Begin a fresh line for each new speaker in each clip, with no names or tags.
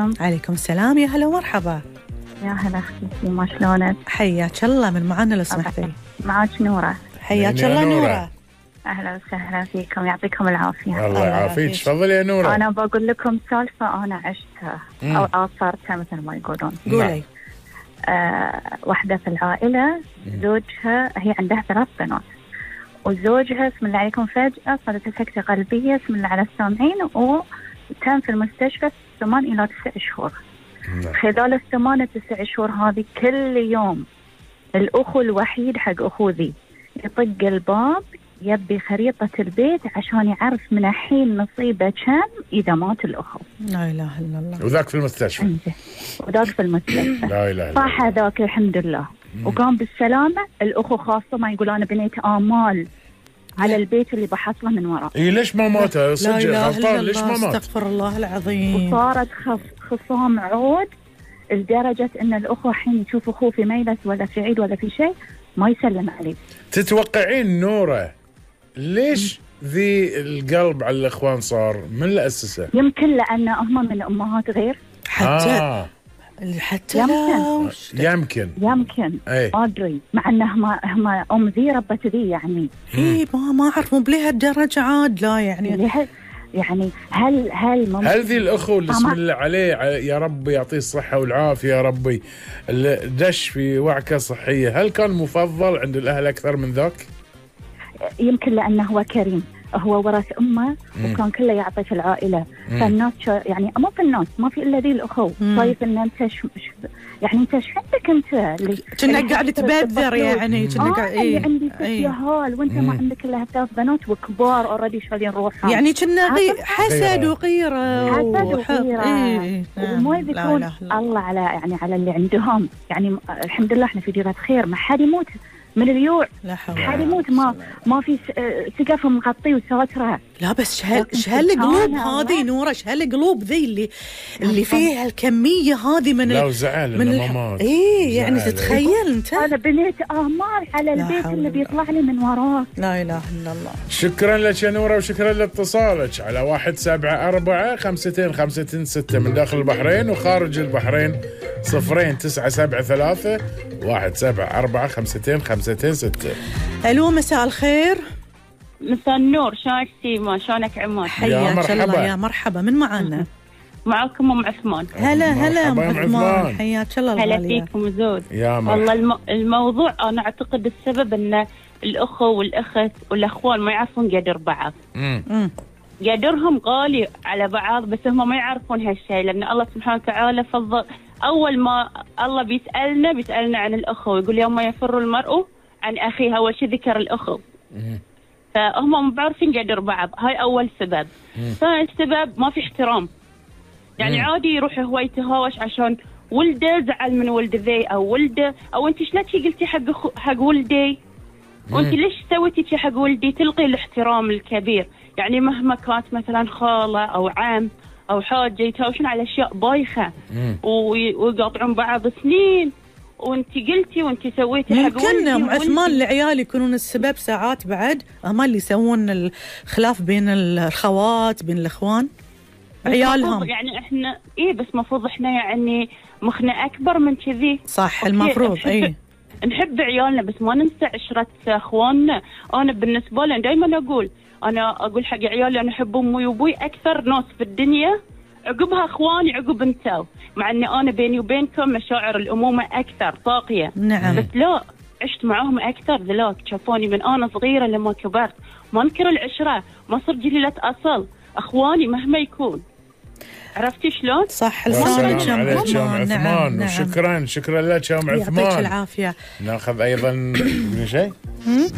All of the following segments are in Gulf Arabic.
عليكم.
عليكم السلام، يا هلا ومرحبا.
يا هلا أختي، ما شلونك؟
حياك الله، من معانا لو سمحتي؟
معاك نورة.
حياك الله نورة.
أهلا وسهلا فيكم، يعطيكم العافية.
الله يعافيك، تفضلي يا نورة.
أنا بقول لكم سالفة أنا عشتها أو آثرتها مثل ما يقولون.
قولي.
واحدة في العائلة زوجها، هي عندها 3 بنات، وزوجها بسم الله عليكم فجأة صارت سكتة قلبية بسم الله على السامعين، وكان في المستشفى 8 إلى 9 شهور. خلال 8 9 شهور هذه كل يوم الأخو الوحيد حق أخوذي يطق الباب يبي خريطة البيت عشان يعرف من الحين نصيبه كم إذا مات الأخو.
لا إله إلا الله.
وذاك في المستشفى.
وذاك في المستشفى.
لا إله إلا الله.
صح ذاك الحمد لله. وقام بالسلامة. الأخو خاصة ما يقول أنا بنيت آمال على البيت اللي بحصله من وراء.
إيه ليش ما مات؟ صدق غلطان، ليش ما مات؟
استغفر الله العظيم.
وصارت خصام عود لدرجة إن الأخوة حين يشوف أخوه في ميلس ولا في عيد ولا في شيء ما يسلم عليه.
تتوقعين نورة ليش ذي القلب على الإخوان صار؟ من اللي أسسه؟
يمكن لأن هم من أمهات غير.
حتى
يمكن
ما أدري، مع أنه هم أم ذي ربت ذي يعني.
إيه ما أعرف، مو بلهالدرجة عاد. لا يعني
هل
ذي الأخو اللي اسم الله عليه يا رب يعطيه الصحة والعافية يا ربي، اللي دش في وعكة صحية، هل كان مفضل عند الأهل أكثر من ذاك؟
يمكن لأنه هو كريم، هو ورث أمه وكان كله يعطي في العائلة. فالناس يعني مو في الناس ما في إلا ذي الأخو. طيب إن أنت يعني أنت شو عندك أنت
كنا قاعد تبذر يعني
اللي عندي 6 هال وأنت ما عندك إلا 3 بنات وكبار أوريدي شايلين روحهم.
يعني كنا حسد وغيرة
وما يذكرون الله على اللي عندهم. يعني الحمد لله إحنا في ديرة خير، ما حد يموت من اليوع، حد يموت ما في سقف مغطي وساتره.
لا بس هالقلوب هذه نورة، هالقلوب ذي اللي فيها الكمية هذه من
لا وزعل من الممات.
ايه يعني تتخيل انت.
انا بنيت امال على البيت اللي بيطلع لي من وراه.
لا اله الا الله.
شكرا لك يا نورة وشكرا لاتصالك على 174-525-6 من داخل البحرين وخارج البحرين 0973 174-525-6.
الو مساء الخير.
مساء النور، شلونك سيما؟ شلونك عماد؟
حياك الله، يا مرحبا. من معانا؟
معكم ام عثمان.
هلا ام عثمان، حياك الله الغالية.
هلا فيكم زود.
والله
الموضوع انا اعتقد السبب ان الاخو والاخت والاخوان ما يعرفون قدر بعض. قدرهم غالي على بعض بس هم ما يعرفون هالشيء، لان الله سبحانه وتعالى فضل. اول ما الله بيسالنا عن الاخو، يقول يوم يفر المرء عن اخيه، اول شيء ذكر الاخو. فهم ما بعرفين قدر بعض، هاي اول سبب. ثاني سبب ما في احترام. يعني عادي يروح هو يتهاوش عشان ولده زعل من ولد ذي او ولده، او انت شلون قلتي حق ولدي، وانت ليش سويتي شي حق ولدي؟ تلقي الاحترام الكبير. يعني مهما كانت مثلا خاله او عم او حاجه يتهاوشون على اشياء بايخه ويقاطعون بعض سنين، وانت قلتي وانت سويتي حق ولدي.
ممكن ام عثمان العيال يكونون السبب ساعات بعد، هم اللي يسوون الخلاف بين الخوات بين الاخوان عيالهم.
يعني احنا بس مفروض احنا يعني مخنا اكبر من كذي.
صح المفروض.
نحب عيالنا بس ما ننسى عشرة اخواننا. انا بالنسبه لي دائما اقول حق عيالي انا احب امي وابوي اكثر ناس في الدنيا، عقبها اخواني، عقب انتو، مع اني انا بيني وبينكم مشاعر الامومه اكثر طاقيه.
نعم.
بس لا، عشت معاهم اكثر. ذلاك شافوني من انا صغيره لما كبرت، ما انكر العشره، ما صرت جليله اصل. اخواني مهما يكون، عرفتي شلون؟
صح.
لسانك يا ام عثمان. نعم. شكرا لك يا ام عثمان،
يعطيك العافيه.
ناخذ ايضا من شيء،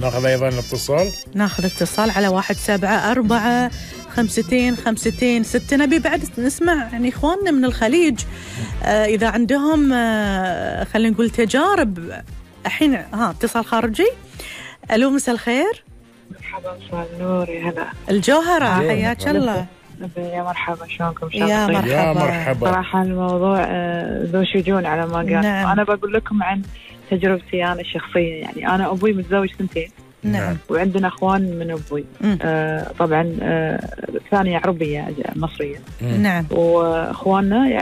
ناخذ ايضا الاتصال.
ناخذ اتصال على 174-525-6. نبي بعد نسمع يعني اخواننا من الخليج اذا عندهم خلينا نقول تجارب. الحين اتصال خارجي. الو مساء الخير.
مرحبا، مساء النور، يا هلا
الجوهرة، حياك الله.
يا مرحبا، شلونكم؟
يا مرحبا.
صراحة الموضوع ذو شجون على ما قال.
نعم.
أنا بقول لكم عن تجربتي أنا الشخصية. يعني أنا أبوي متزوج 2.
نعم.
وعندنا أخوان من أبوي. طبعا ثانية عربية مصرية.
نعم.
وأخواننا